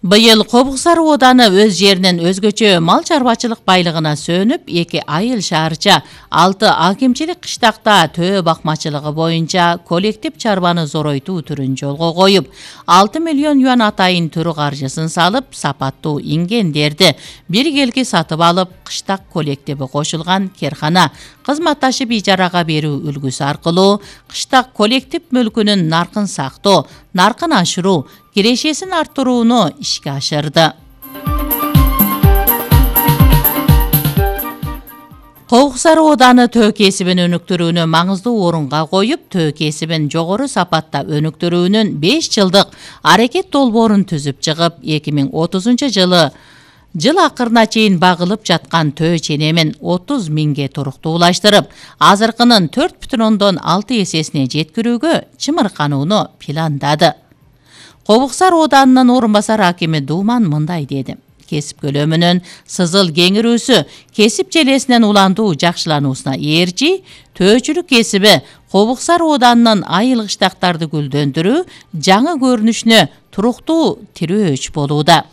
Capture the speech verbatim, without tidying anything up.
Быйыл Кобуксар ооданы өз жеринен өзгөчө мал чарбачылык байлыгына сөнүп, эки айыл шаарча алты акимчилик кыштакта төө бакмачылыгы боюнча коллектив чарбаны зоройтуу түрүн жолго коюп, алты миллион юан атайын түрү каржысын салып, сапаттуу ингендерди бир келки сатып алып, кыштак коллективи кошулган керкана кызматташып ижарага берүү үлгүсү аркылуу кыштак коллектив мүлкүнүн наркын сактоо, наркын ашыруу, кирешесин арттырууну ишке ашырды. Кобуксар ооданы төө кесибин өнүктүрүүнү маңыздуу орунга коюп, төө кесибин жогору сапатта өнүктүрүүнүн беш жылдык аракет долбоорун түзүп чыгып, эки миң отузунчу жылы жыл акырына чейин багылып жаткан төө ченемин отуз миңге туруктуулаштырып, азыркынын төрт бүтүн ондон алты эсесине жеткирүүгө чымырканууну пландады. Кобуксар оодарынын орун басар акими Думан мындай деди: кесип көлөмүнүн сызыл кеңирүүсү кесип желесинен уландуу жакшылануусуна ээрчи, төөчүлүк кесиби Кобуксар оодарынын айыл кыштактарды гүлдөндүрүү, жаңы көрүнүшүнө туруктуу тирөөч болууда.